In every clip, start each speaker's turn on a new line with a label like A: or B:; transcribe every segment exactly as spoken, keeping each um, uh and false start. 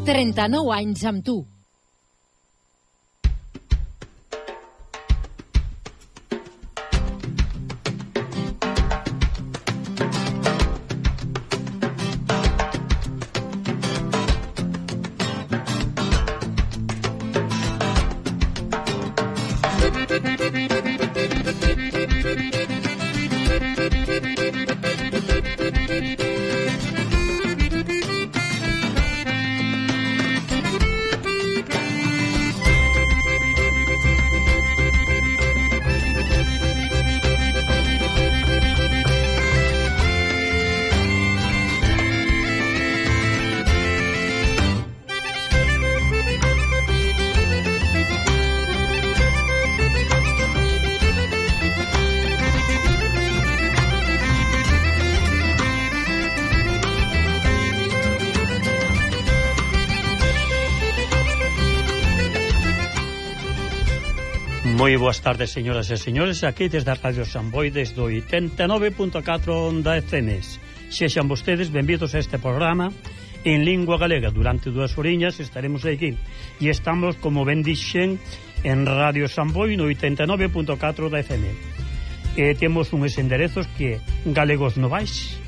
A: trenta-nou anys amb tu.
B: Moi boas tardes, señoras e señores, aquí desde a Radio Samboy, desde o oitenta e nove punto catro onda F M. Sexan vostedes benvidos a este programa en lingua galega. Durante dúas horiñas estaremos aquí e estamos, como ben dixen, en Radio Samboy no oitenta e nove punto catro da F M. E temos uns enderezos que é galegosnovais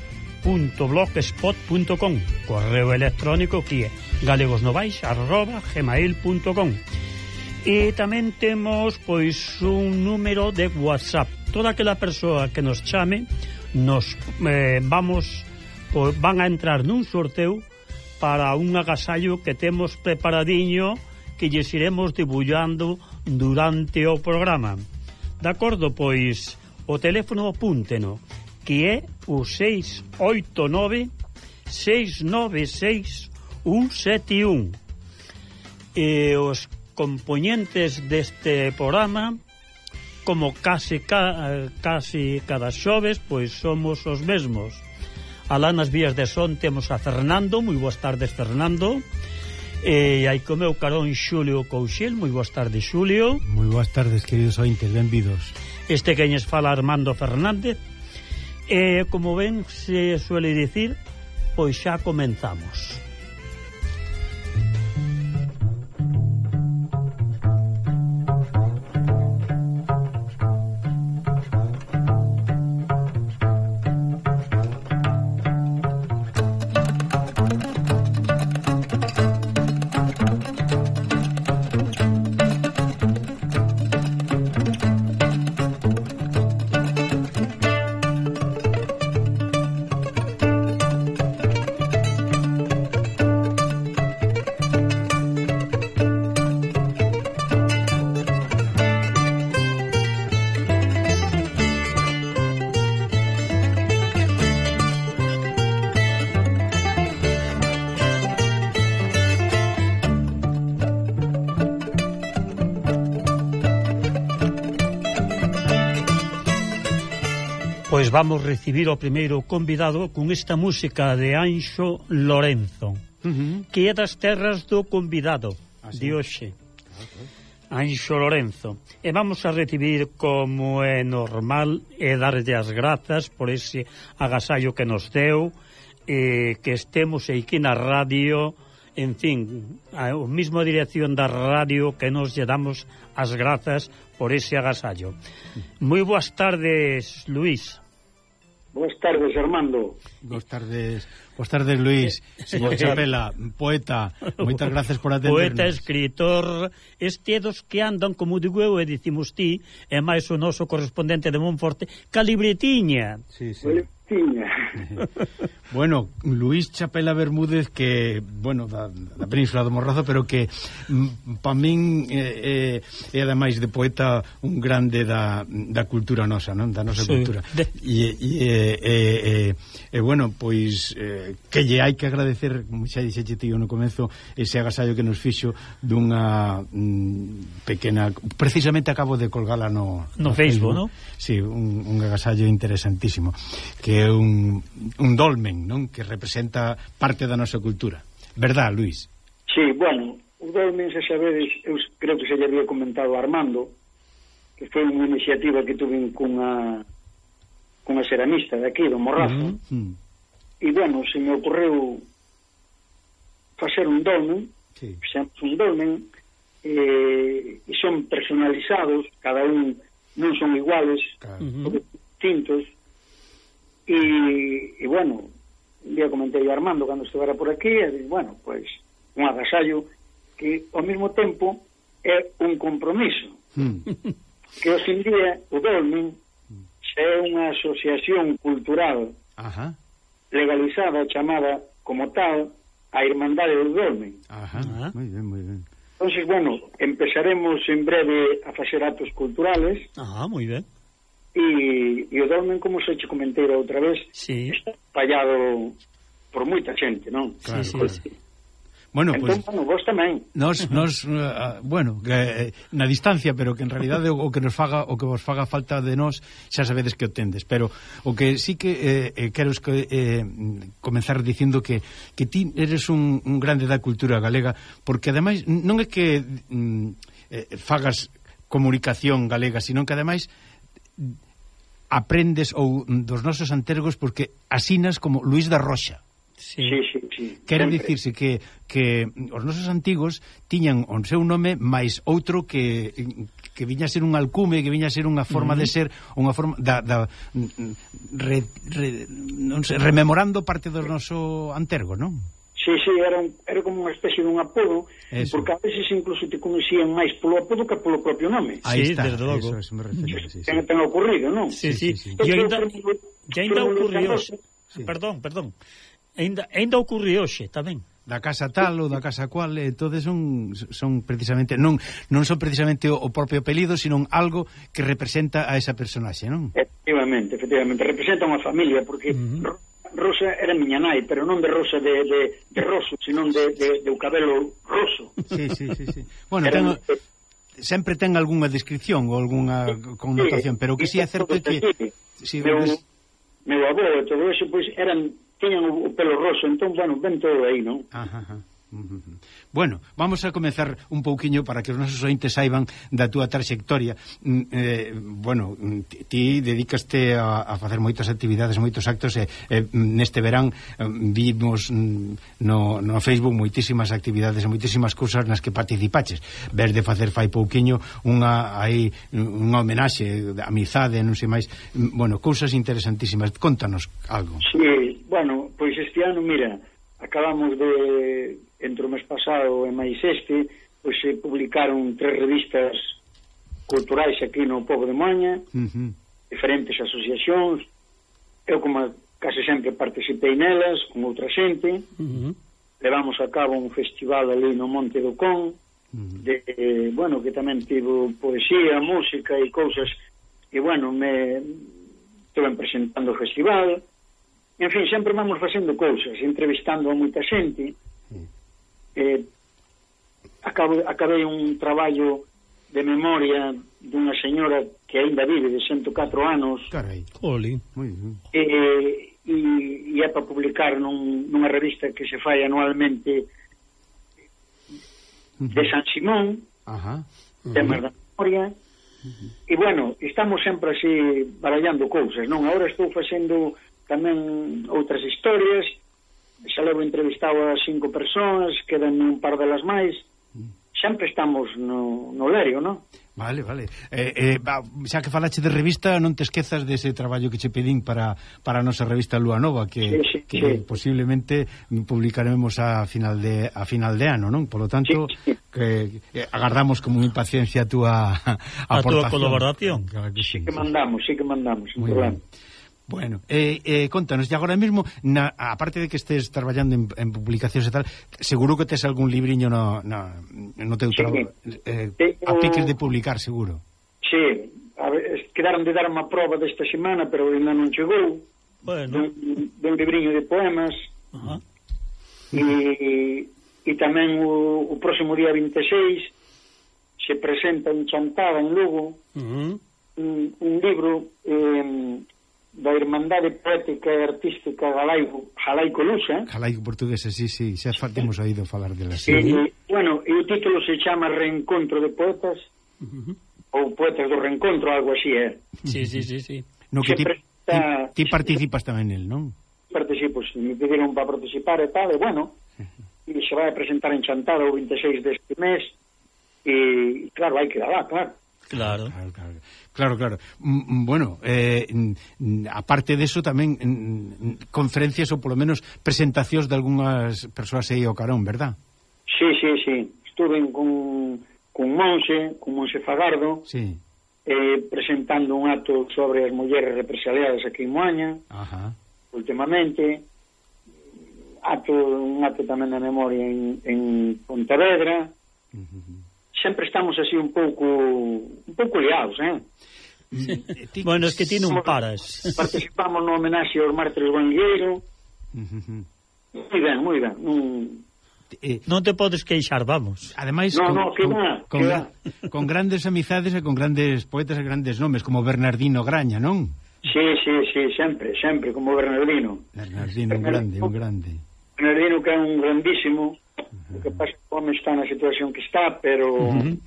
B: punto blogspot punto com, correo electrónico que é galegosnovais arroba gmail punto com. E tamén temos pois un número de WhatsApp. Toda aquela persoa que nos chame nos eh, vamos pois, van a entrar nun sorteo para un agasallo que temos preparadiño que lles iremos debullando durante o programa. De acordo, pois o teléfono apúnteno, que é o seis oito nove seis nove seis un sete un. E os componentes deste programa, como case, ca, case cada xoves, pois somos os mesmos. Alá nas vías de son temos a Fernando. Moi boas tardes, Fernando. E hai co meu carón Xulio Couchel. Moi boas tardes, Xulio.
C: Moi boas tardes, queridos ointes, benvidos.
B: Este queñes fala Armando Fernández. E como ben se suele dicir, pois xa comenzamos. Pois vamos recibir o primeiro convidado con esta música de Anxo Lorenzo, uh-huh. que é das terras do convidado ah, sí. de hoxe, okay. Anxo Lorenzo. E vamos a recibir, como é normal, e darlle as grazas por ese agasallo que nos deu, e que estemos aquí na radio, en fin, a mesma dirección da radio que nos lle damos as grazas por ese agasallo. Moi boas tardes, Luís.
D: Boas tardes, Armando.
C: Boas tardes, boas tardes, Luís. Señor Chapela, poeta, moitas gracias por atendernos.
B: Poeta, escritor, este dos que andan, como digo eu, e dicimos ti, e máis o noso correspondente de Monforte, ca libretiña.
C: Sí, sí.
D: Tiña.
C: Bueno, Luís Chapela Bermúdez, que, bueno, da, da Península do Morrazo, pero que mm, pa min é eh, eh, ademais de poeta un grande da, da cultura nosa, non? Da nosa sí. cultura. De... E, e, e, e, e, bueno, pois eh, que lle hai que agradecer, como xa dixeche tío no comezo, ese agasallo que nos fixo dunha mm, pequena... Precisamente acabo de colgala no...
B: No, no Facebook, non?
C: Sí, un, un agasallo interesantísimo, que é un, un dolmen, non? Que representa parte da nosa cultura. Verdad, Luís?
D: Sí, bueno, o dolmen, se sabedes, eu creo que se lle había comentado a Armando, que foi unha iniciativa que tuve cunha cunha ceramista de aquí, do Morrazo. Uh -huh. E, bueno, se me ocorreu facer un dolmen,
C: sí.
D: fixemos un dolmen, eh, e son personalizados, cada un non son iguales,
C: Claro.
D: son distintos, e, e bueno, un día comentei a Armando cando estivera por aquí, e dix, bueno, pois, un agasallo que ao mesmo tempo é un compromiso,
C: Mm.
D: que hoxe en día o dolmen xa é unha asociación cultural
C: Ajá.
D: legalizada, chamada como tal a Irmandade do Dolmen.
C: Ajá.
B: Ah.
C: Moi ben, moi ben.
D: Entonces, bueno, empezaremos en breve a facer actos culturales
B: Ah, moi ben.
D: e, e o Dolmen, como se che comentei a outra vez,
B: Sí.
D: está fallado por moita xente, non?
C: Claro,
B: sí,
C: claro.
B: sí.
C: Bueno,
D: Entón,
C: pues
D: bueno, vos tamén.
C: nos, nos uh, bueno, que, eh, na distancia, pero que en realidade o, o que nos faga o que vos faga falta de nós, xa sabedes que o tendes, pero o que sí que eh, eh, quero es que eh, comenzar dicindo que que ti eres un, un grande da cultura galega, porque ademais non é que mm, eh, fagas comunicación galega, sino que ademais aprendes ou dos nosos antergos porque asinas como Luís da Roxa.
B: Sí.
D: Sí, sí, sí.
C: Quere
D: sempre.
C: dicirse que, que os nosos antigos tiñan o seu nome máis outro que que viña a ser un alcume, que viña a ser unha forma uh -huh. de ser, unha forma da, da re, re, non sei, rememorando parte do noso antergo, non?
D: Sí, sí, era, un, era como unha especie de un apodo,
C: Eso.
D: porque a veces incluso te conocían máis polo apodo que polo propio nome.
C: Aí
B: Sí,
C: está,
B: desde logo.
C: eso, eso me refería, sí, sí.
D: Ten, ten ocurrido, non?
B: Sí, sí.
C: sí, sí.
B: E ainda,
D: Pero,
B: e ainda
D: pero,
B: ocurrió...
D: pero,
B: Sí. Perdón, perdón. Ainda, ainda ocurrió hoxe tamén.
C: Da casa tal ou da casa cual, eh, todos son son precisamente non non son precisamente o, o propio apelido, sino algo que representa a esa personaxe, non?
D: Efectivamente, efectivamente, representa unha familia, porque uh -huh. Rosa era miña nai, pero non de rosa de, de, de roso, sino de, de, de o cabelo roso.
C: Sí, sí, sí, sí. Bueno, ten, sempre ten algunha descripción ou algunha connotación, pero que si sí é certo que si
D: meu,
C: ves...
D: meu avó e todo eso, pois, eran tiñan o pelo roso, entón, bueno, ven todo aí, non?
C: Ajá, ajá. Bueno, vamos a comenzar un pouquiño para que os nosos ointes saiban da túa traxectoria. Eh, bueno, ti dedicaste a, a facer moitas actividades, moitos actos, e eh, neste verán eh, vimos no, no Facebook moitísimas actividades e moitísimas cousas nas que participaches. Ver de facer fai pouquiño unha aí unha homenaxe de amizade, non sei máis, bueno, cousas interesantísimas. Contanos algo.
D: Sí, bueno, pois este ano, mira, acabamos de, entre o mes pasado e máis este, pois se publicaron tres revistas culturais aquí no Pobo de Moaña, uh -huh. diferentes asociacións. Eu, como case sempre, participei nelas con outra xente. Uh -huh. Levamos a cabo un festival ali no Monte do Con, uh -huh. de, eh, bueno, que tamén tivo poesía, música e cousas, e, bueno, me estuve presentando o festival. En fin, sempre vamos facendo cousas, entrevistando a moita xente. Mm. Eh, acabo, acabei un traballo de memoria dunha señora que aínda vive de ciento catro anos.
C: Carai.
B: Oli.
C: Moi ben.
D: E, e, e é para publicar nun, nunha revista que se fai anualmente uh -huh. de San Simón,
C: Ajá. Uh -huh.
D: temas da memoria. Uh -huh. E, bueno, estamos sempre así barallando cousas, non? Agora estou facendo tamén outras historias, xa levo entrevistado a cinco persoas, quedan un par delas máis, sempre estamos no, no lerio, non?
C: Vale, vale. Eh, eh, xa que falache de revista, non te esquezas dese traballo que che pedín para, para a nosa revista Lúa Nova, que,
D: sí, sí,
C: que
D: sí.
C: posiblemente publicaremos a final de a final de ano, non? Por lo tanto,
D: sí, sí.
C: que eh, agardamos como impaciencia a túa
B: a túa colaboración.
C: Claro que sí,
D: sí que
C: sí.
D: mandamos, sí que mandamos, sin
C: Muy
D: problema.
C: Bien. Bueno, eh, eh, contanos, e agora mesmo, na, aparte de que estés traballando en, en publicacións e tal, seguro que tes algún libriño no, no, no teu
D: sí,
C: traballo, eh,
D: sí,
C: a piques de publicar, seguro.
D: Sí, a ver, quedaron de dar unha prova desta semana, pero ainda non chegou.
B: Bueno.
D: Dun, dun libriño de poemas.
B: Ajá.
D: E, e tamén o, o próximo día vinte e seis se presenta en Chantada, en Lugo, uh -huh. un, un libro... Eh, da Irmandade Poética e Artística Galaico, Galaico Lusa.
C: Galaico Portuguesa, sí, sí, xa temos oído falar dela.
D: Sí. E, e, bueno, e o título se chama Reencontro de Poetas, uh -huh. ou Poetas do Reencontro, algo así, é. Eh?
B: Sí, sí, sí, sí.
C: No que ti,
D: presenta,
C: ti, ti participas tamén nel, non?
D: Participo, sí, me pidieron para participar e tal, e bueno, e se vai a presentar en Chantada o vinte e seis deste mes, e claro, hai que dar lá, claro.
B: Claro.
C: Claro, claro. Claro, claro. Mm, bueno, eh, mm, aparte deso tamén mm, conferencias ou polo menos presentacións de algunhas persoas aí ao carón, verdad?
D: Sí, sí, sí. Estuve con, con Monse, con Monse Fagardo,
C: sí.
D: eh, presentando un acto sobre as mulleres represaliadas aquí en Moaña,
C: Ajá.
D: últimamente, acto, un acto tamén de memoria en, en Pontevedra. Uh-huh. Sempre estamos así un pouco un pouco liados, eh?
B: Sí. Bueno, es que ti non paras.
D: Participamos no homenaxe aos mártires Guangueiro. Uh-huh. Moi ben, moi ben. Un...
B: Eh, non te podes queixar, vamos.
C: Ademais,
D: no,
C: con,
D: no, que
C: con,
D: va,
C: con,
D: que
C: va. con grandes amizades e con grandes poetas e grandes nomes, como Bernardino Graña, non?
D: Sí, sí, sí, sempre, sempre, como Bernardino.
C: Bernardino, un grande, un grande.
D: Bernardino que é un grandísimo. O que pasa é que o home está na situación que está, pero uh-huh.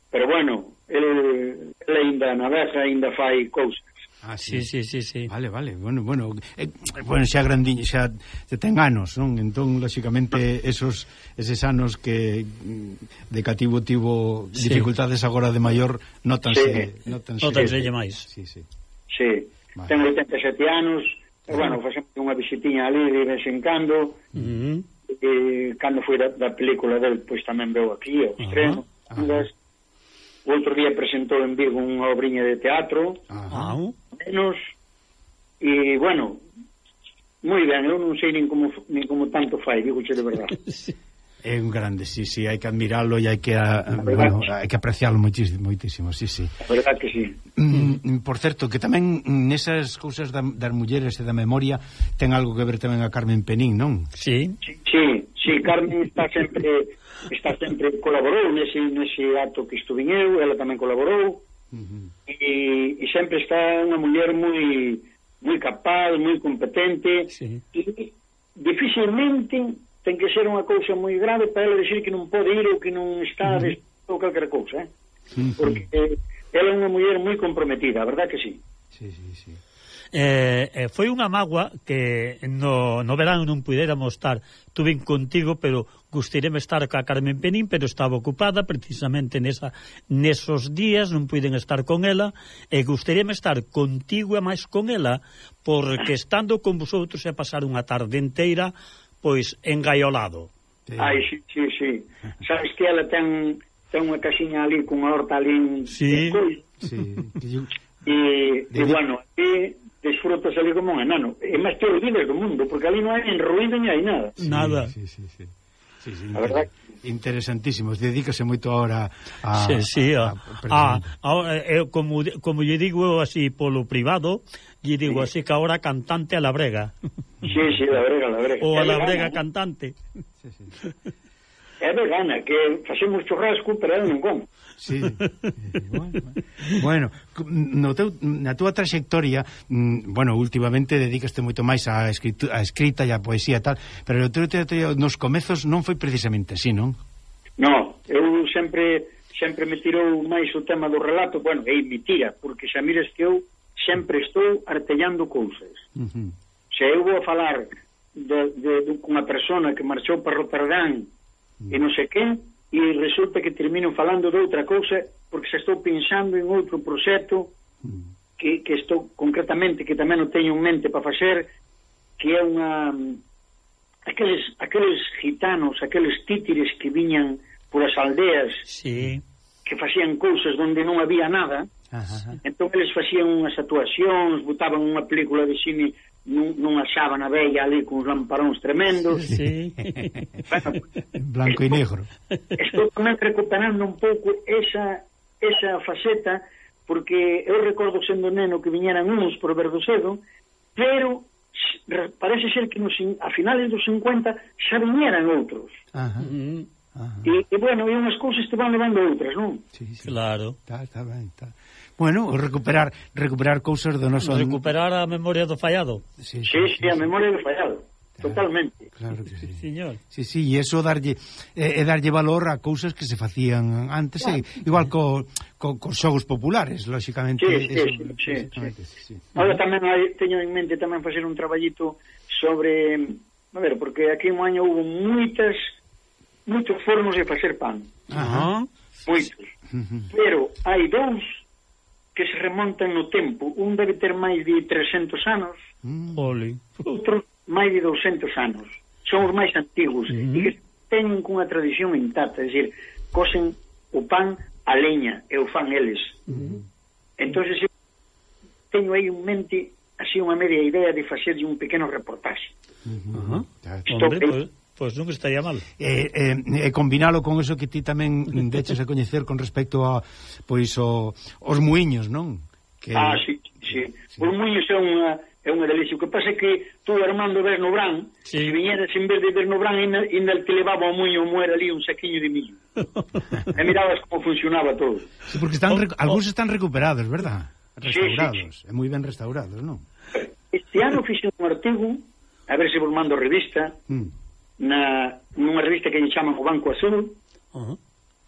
D: pero bueno, ele, ele ainda navega, ainda fai cousas.
C: Ah, sí,
B: sí, sí, sí.
C: Vale, vale, bueno, bueno, eh, bueno, xa grandiño, xa te ten anos, non? Entón, lóxicamente, esos eses anos que de cativo tivo sí. dificultades agora de maior, notanse,
B: sí. notanse, notanse sí. máis.
C: Sí, sí.
D: Sí. Vale. Tengo oitenta e sete anos, e bueno, facemos unha visitiña ali de vez en cando. Uh-huh. E cando foi da, da película del, pois tamén veu aquí ao estreno. Uh-huh. O outro día presentou en Vigo unha obriña de teatro, uh-huh. menos, e bueno, moi ben, eu non sei nin como, nin como tanto fai, digo che de verdade.
C: É un grande, sí, sí, hai que admiralo e hai que, a, bueno, hai que aprecialo moitísimo, moitísimo, sí, sí.
D: A verdade que sí.
C: Mm, por certo, que tamén nesas cousas da, das mulleres e da memoria ten algo que ver tamén a Carmen Penín, non?
B: Sí.
D: Sí, sí, sí, Carmen está sempre está sempre colaborou nese, nese acto que estuve eu, ela tamén colaborou, uh-huh. e, e sempre está unha muller moi moi capaz, moi competente, sí. E dificilmente ten que ser unha cousa moi grave para ela decir que non pode ir ou que non está uh-huh. ou calquera cousa, eh? Uh-huh. Porque eh, ela é unha muller moi comprometida, a verdad que sí.
C: Sí, sí, sí.
B: Eh, eh, foi unha mágoa que no, no verán non puidéramos estar, tuve contigo, pero gustaríame estar ca Carmen Penín, pero estaba ocupada precisamente nesa, nesos días, non puiden estar con ela, e gustaríame estar contigo e máis con ela, porque estando con vosotros e pasar unha tarde inteira pois engaiolado.
C: Sí.
D: Ai, sí, sí, sí. Sabes que ela ten ten unha casiña ali con unha horta ali.
B: Sí.
C: Sí.
D: E, e bueno, e desfrutas ali como un enano. E máis te olvides do mundo, porque ali non hai en ruido ni hai nada.
B: Sí, nada.
C: Sí, sí, sí. Sí, sí,
D: a verdad.
C: Interesantísimo. Dedícase moito ahora a...
B: Sí, sí, a, a, a, a, a, como, como lle digo así polo privado, lle digo
D: sí.
B: así que ahora cantante a la brega.
D: Sí, sí, la brega, la brega.
B: O a la
D: vegana,
B: brega
D: ¿no?
B: Cantante.
C: Sí, sí.
D: É vegana, que facemos churrasco, pero ela non come.
C: Sí. Bueno, bueno, no teu, na túa trayectoria, bueno, últimamente dedicaste moito máis á escritura, á escrita e á poesía e tal, pero no teu trayectoria nos comezos non foi precisamente así, non?
D: No, eu sempre sempre me tirou máis o tema do relato, bueno, é mentira, porque xa mires que eu sempre estou artellando cousas. Uh-huh. Se eu vou a falar de, de, de unha persona que marchou para Rotterdam uh-huh. e non sei quen, e resulta que termino falando de outra cousa porque xa estou pensando en outro proxecto que, que estou concretamente, que tamén o teño en mente para facer, que é unha aqueles, aqueles gitanos, aqueles títires que viñan por as aldeas,
B: sí.
D: que facían cousas onde non había nada. Ajá. Entón eles facían unhas actuacións, botaban unha película de cine nun, nunha sábana bella ali con uns lamparóns tremendos.
B: Sí.
D: Bueno,
C: blanco e negro.
D: Estou tamén recuperando un pouco esa, esa faceta, porque eu recordo sendo neno que viñeran uns por Verdocedo, pero parece ser que nos, a finales dos cincuenta xa viñeran outros.
C: Ajá.
D: Ajá. E, e bueno, e unhas cousas te van levando outras, non?
C: Sí, sí.
B: Claro.
C: Está, está ben, está. Bueno, recuperar recuperar cousas do noso...
B: Recuperar a memoria do fallado.
D: Sí, sí, sí, sí, a memoria do fallado. Claro, totalmente.
C: Claro que sí.
B: Sí, señor.
C: Sí, sí, e eso darlle é eh, darlle valor a cousas que se facían antes, claro. eh, igual co, co cos xogos populares, lógicamente.
D: Sí,
C: eso,
D: sí, sí, sí, sí. Ahora tamén hai, teño en mente tamén facer un traballito sobre a ver, porque aquí en Moaña hubo moitas moitos fornos de facer pan.
B: Ajá.
D: Moitos. Pero hai dous que se remontan no tempo. Un debe ter máis de trescentos anos,
B: Oli.
D: outro máis de douscentos anos. Son os máis antigos
B: Uh-huh.
D: e que teñen cunha tradición intacta, é dicir, cosen o pan a leña e o fan eles.
B: Uh-huh.
D: Entonces eu teño aí en mente así unha media idea de facer un pequeno reportaxe.
B: Ajá.
D: Isto
B: Hombre,
D: é-
B: pois, pois non estaría mal.
C: E, e, e combinalo con eso que ti tamén deches a coñecer con respecto a pois o, os muiños, non? Que...
D: Ah, sí, sí.
C: Sí.
D: Os muiños é unha é unha delicia. O que pasa é que tú, Armando, ves no Brán,
B: Sí.
D: se viñeras en vez de ver no Brán, ainda, ainda te levaba o muiño moer ali un saquiño de millo. E mirabas como funcionaba todo.
C: Sí, porque están
B: Oh,
C: rec- algúns están recuperados, verdad?
D: Sí,
C: Restaurados, e moi ben restaurados, non?
D: Este ano fixe un artigo, a ver se vos mando revista,
C: Mm.
D: na, nunha revista que lle chaman o Banco Azul,
B: Ajá.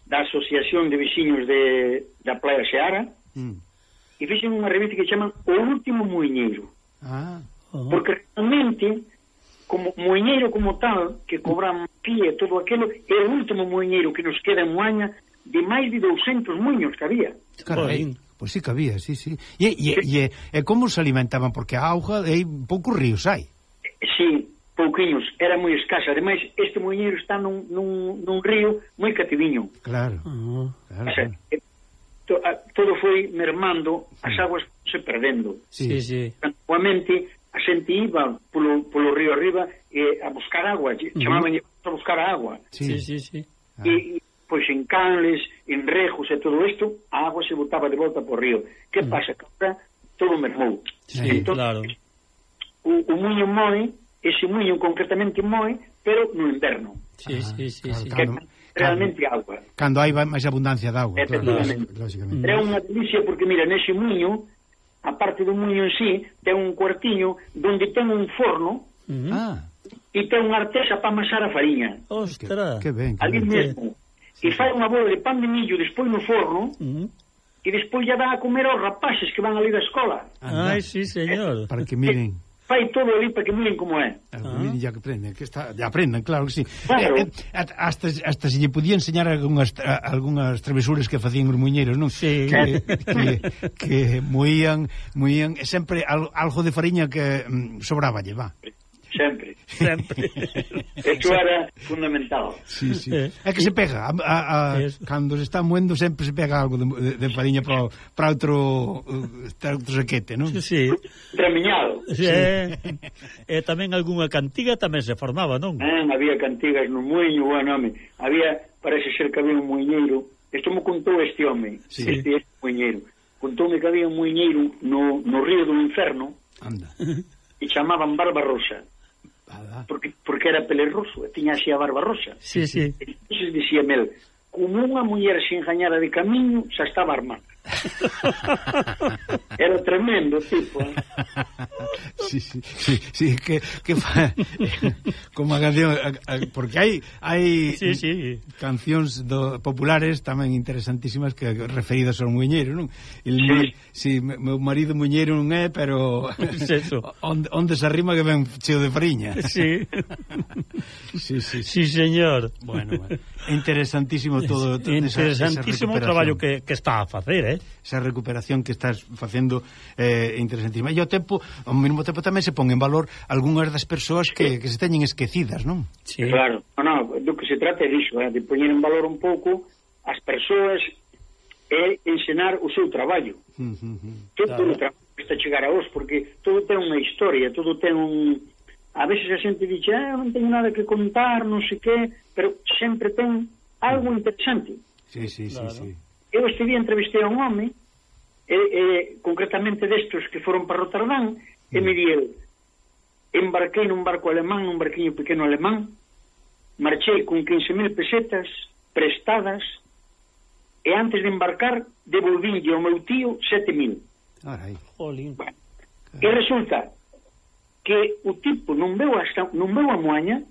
D: da Asociación de Veciños de, da Playa Seara,
C: Mm.
D: e fixen unha revista que chaman O Último Muiñeiro.
C: Ah,
B: Ajá.
D: Porque realmente, como muiñeiro como tal, que cobran pie e todo aquilo, é o último muiñeiro que nos queda en Moaña de máis de douscentos muiños que había.
C: carai. Pois sí que había, sí, sí. E, e, e, e como se alimentaban? Porque a auga, hai poucos ríos hai.
D: Sí, pouquiños, era moi escasa. Ademais, este muiñeiro está nun, nun, nun río moi cativiño.
C: Claro,
B: Ajá.
C: claro,
D: O sea,
C: claro.
D: eh, to, a, todo foi mermando, as aguas se perdendo.
B: Sí, sí.
D: Antiguamente, a xente iba polo, polo río arriba eh, a buscar agua, chamaban a buscar a agua.
B: Sí, sí, sí.
C: Ah.
D: E, pois en canles, en rejos e todo isto, a agua se botaba de volta por río. Que pasa? Que ahora todo mermou.
B: Sí, claro.
D: O, o muiño moe, ese muiño concretamente moe, pero no inverno.
B: Sí, sí, sí,
C: claro,
B: sí.
D: Que
C: Cando-
D: é realmente agua.
C: Cando hai máis abundancia de auga, claro,
D: Efectivamente.
C: lógicamente.
D: É unha delicia porque, mira, nese muiño, a parte do muiño en sí, ten un cuartiño donde ten un forno
B: Ujú.
C: Ah,
D: e ten unha artesa para amasar a fariña.
C: que,
B: Ostras.
C: que ben, que
D: Ali
C: ben.
D: mesmo. E fai unha bola de pan de millo despois no forno
B: Ujú.
D: e despois ya dá a comer aos rapaces que van ali da escola.
C: Anda,
B: Ai, sí, señor.
C: para que miren,
D: Fai todo ali para que miren como é.
C: para que miren ya que aprenden, que está, ya aprendan, claro que sí.
D: Claro.
C: Eh, eh, hasta, hasta se lle podía enseñar algunhas, tra- algunhas travesuras que facían os muiñeiros, non?
B: Sí.
C: Que, que, que moían, moían, e sempre al, algo de fariña que mm, sobraba lle, va.
D: Sempre.
B: Sempre.
D: Eso era fundamental.
C: Sí, sí.
B: Eh.
C: É que se pega, a, a, a,
B: Eso.
C: cando se está moendo sempre se pega algo de, de, de fariña para para outro, uh, para outro saquete, non?
B: Sí.
D: Tramiñado.
B: Sí. E, e tamén algunha cantiga tamén se formaba, non?
D: Ah, había cantigas no muiño, bueno, home. Había, parece ser que había un muiñeiro. Isto me contou este home,
C: Sí.
D: este, este muiñeiro. Contoume que había un muiñeiro no, no río do Inferno
C: Anda.
D: e chamaban Barbarosa.
C: Anda.
D: Porque, porque era pelerroso, e tiña así a barba rosa.
B: Sí, sí.
D: Entonces dicía Mel, como unha muller se engañara de camiño, xa estaba armada. Era tremendo, tipo. Eh?
C: Sí, sí, sí, sí, que, que fa, como a canción, a, a, porque hai hai
B: Sí, sí.
C: cancións do, populares tamén interesantísimas que referidas ao muiñeiro, non? El,
D: Sí.
C: mi- sí, me- meu marido muiñeiro non é, pero
B: Es eso.
C: onde, onde se arrima que ven cheo de fariña.
B: Sí.
C: Sí, sí, sí.
B: Sí, señor.
C: Bueno, bueno. Interesantísimo todo, todo esa,
B: Interesantísimo o
C: esa
B: traballo
C: recuperación.
B: que, que está a facer, eh?
C: Esa recuperación que estás facendo é eh, interesantísima. E ao tempo, ao mesmo tempo tamén se pon en valor algunhas das persoas que, que se teñen esquecidas, non?
B: Sí.
D: Claro, no, no, do que se trata é disso, eh, de poñer en valor un pouco as persoas e ensinar o seu traballo.
C: Uh, uh, uh.
D: Todo
B: Claro.
D: o traballo que está a chegar a vos, porque todo ten unha historia, todo ten un... A veces a xente dixe, ah, non teño nada que contar, non sei que, pero sempre ten algo interesante.
C: Sí, sí,
B: Claro.
C: sí, sí.
D: Eu este día entrevistei a un home, e, e, concretamente destos que foron para Rotterdam, e me di el, embarquei nun barco alemán, nun barquiño pequeno alemán, marchei con quince mil pesetas prestadas, e antes de embarcar devolvinlle ao meu tío sete mil.
C: Carai.
B: Jolín.
D: Bueno, e resulta que o tipo non veu, hasta, non veu a Moaña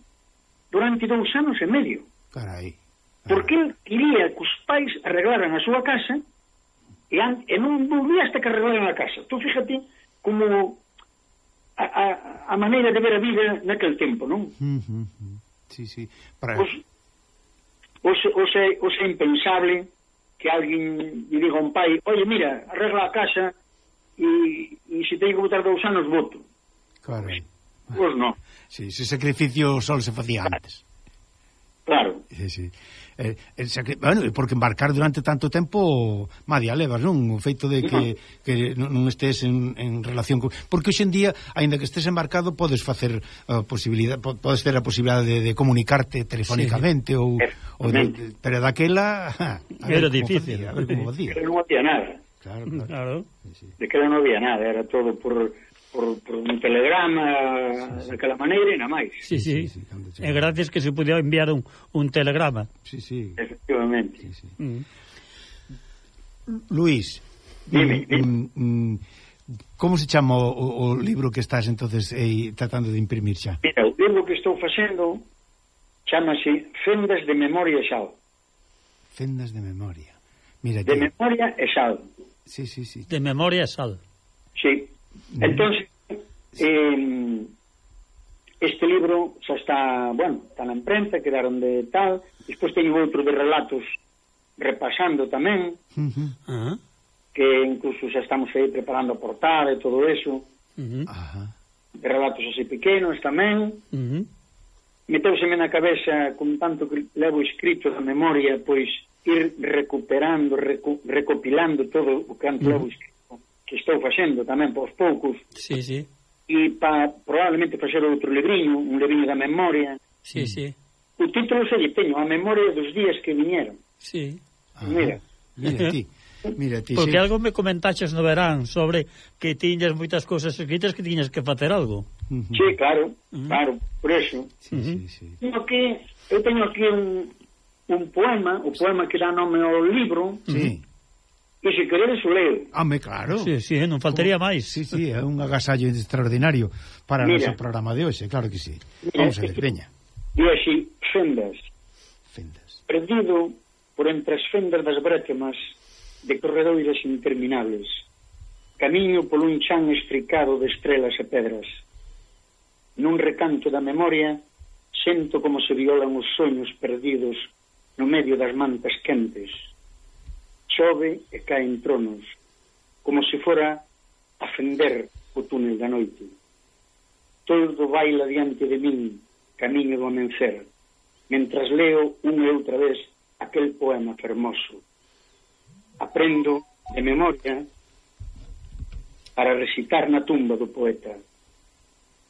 D: durante dous anos e medio.
C: Carai.
D: Porque el quería que os pais arreglaran a súa casa e, an, e non volvía hasta que arreglaran a casa. Tú fíjate como a, a, a maneira de ver a vida naquele tempo, non?
C: Uh -huh. Sí, sí. Para...
D: Os, os, os, é, os é impensable que alguén lle diga a un pai, oye, mira, arregla a casa e, e se teño que botar dous anos, voto.
C: Claro.
D: Pois non.
C: Sí, ese sacrificio só se facía antes.
D: Claro.
C: Sí, sí. Eh, el sacri... Bueno, porque embarcar durante tanto tempo madia levas, non? O feito de que, no. que non estés en, en relación con... Porque hoxe en día, aínda que estés embarcado, podes facer a uh, posibilidade, podes ter a posibilidade de, de comunicarte telefónicamente, sí. ou, ou de, pero daquela ja,
B: era difícil.
C: Facía, a ver como facía.
D: Non había nada.
C: Claro, claro.
B: claro.
C: Sí, sí.
D: De que non había nada, era todo por... Por, por un telegrama, sí, sí. daquela maneira e na máis.
B: Sí, sí, sí, sí. E gracias que se podía enviar un, un telegrama.
C: Sí, sí.
D: Efectivamente.
C: Sí, sí.
B: Mm.
D: Dime,
C: Luís, mm,
D: dime.
C: Mm, como se chama o, o libro que estás entonces eh, tratando de imprimir xa?
D: Mira, o libro que estou facendo chamase Fendas de Memoria e Sal.
C: Fendas de Memoria. Mira,
D: de
C: que...
D: Memoria e Sal.
C: Sí, sí, sí.
B: De memoria e sal.
D: Sí. Entonces, eh, este libro xa está, bueno, está na imprenta, quedaron de tal, despois teño outro de relatos repasando tamén,
C: Uh -huh.
B: Ah.
D: que incluso xa estamos aí preparando a portada e todo eso,
B: Uh -huh.
C: Ajá.
D: de relatos así pequenos tamén.
B: Uh -huh.
D: Meteuseme na cabeza, con tanto que levo escrito da memoria, pois ir recuperando, recu recopilando todo o que antes uh -huh. levo escrito, que estou facendo tamén pos poucos,
B: Sí, sí.
D: e pa probablemente facer outro libriño, un libriño da memoria.
B: Sí, sí.
D: O título se lle teño, a memoria dos días que viñeron.
B: Sí.
C: Ajá.
D: Mira.
C: Mira ti. Mira ti.
B: Porque
C: sí.
B: algo me comentaches no verán sobre que tiñas moitas cousas escritas que tiñas que facer algo.
C: Uh -huh.
D: Sí, claro,
B: Uh -huh.
D: claro, por eso.
C: Sí,
B: Uh -huh.
C: sí, sí.
D: Tengo que, eu teño aquí un, un poema, o poema que dá nome ao libro,
C: Sí.
D: e se queredes o leo.
C: Home, claro.
B: Sí, sí, non faltaría máis.
C: Sí, sí, é un agasallo extraordinario para o
D: Mira.
C: noso programa de hoxe, claro que sí.
D: Mira,
C: Vamos a ver,
D: este-
C: veña.
D: E así, Fendas,
C: Fendas.
D: perdido por entre as fendas das brétemas de corredoiras interminables, camiño polo un chan estricado de estrelas e pedras. Nun recanto da memoria, sento como se violan os soños perdidos no medio das mantas quentes. Chove e caen tronos, como se fora a fender o túnel da noite. Todo baila diante de min, camiño do amencer, mentras leo unha e outra vez aquel poema fermoso. Aprendo de memoria para recitar na tumba do poeta.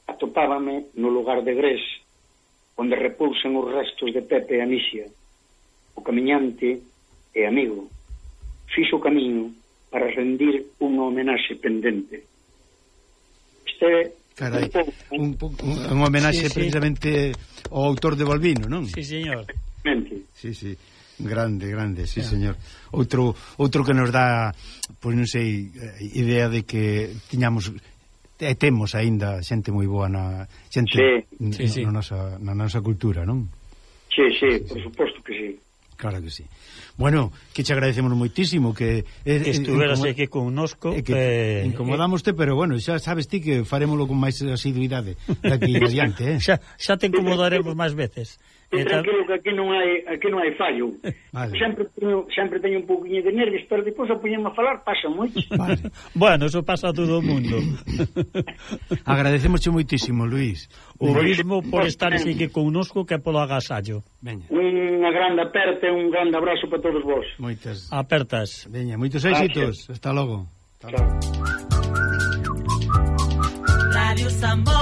D: Atopábame no lugar de Gres, onde repousan os restos de Pepe e Anicia. O camiñante e amigo fixo o camiño para rendir unha homenaxe pendente. Este
C: Carai,
D: un pouco,
C: un, pouco, un homenaxe
B: Sí, sí.
C: precisamente ao autor de Balbino, non?
B: Sí, señor.
D: mente.
C: Sí, sí. Grande, grande, sí, señor. Outro outro que nos dá, pois non sei, idea de que tiñamos e temos aínda xente moi boa na xente
D: Sí.
B: Sí, sí.
C: na nosa na nosa cultura, non?
D: Sí, sí, por suposto que sí.
C: Claro que sí. Bueno, que che agradecemos moitísimo que eh,
B: Que estuveras
C: incomo-
B: aquí connosco.
C: eh, que
B: eh,
C: incomodámoste, pero bueno, xa sabes ti que farémolo con máis asiduidade daqui adiante, eh?
B: xa, xa te incomodaremos máis veces.
D: E
B: E tal-
D: tranquilo que aquí non hai aquí non hai fallo.
C: Vale.
D: Sempre teño sempre teño un pouquiño de nervios, pero depois a poñerme a falar pasa moito.
C: Vale.
B: Bueno, eso pasa a todo o mundo.
C: Agradecemosche moitísimo, Luís.
B: O mismo por estar aquí connosco que polo agasallo.
C: Veña.
D: Unha grande aperta e un grande abrazo para todos vos.
C: Moitas.
B: Apertas.
C: Veña, moitos éxitos. Hasta logo.
D: Chao.
A: Radio Sambo.